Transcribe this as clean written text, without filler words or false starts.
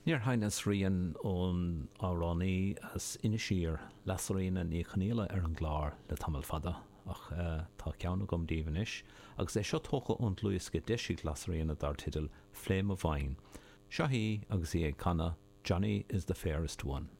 Níor sheinn rian ón amhránaí as Inis Oírr, Lasairfhíona Ní Chonghaile ar an gclár le tamall fada, ach tá ceann agam daoibh anois, agus é seo tógtha ón dlúthdhiosca a d'eisigh Lasairfhíona dar teideal Flame of Wine. Seo í agus í ag canadh Johnny is the Fairest One.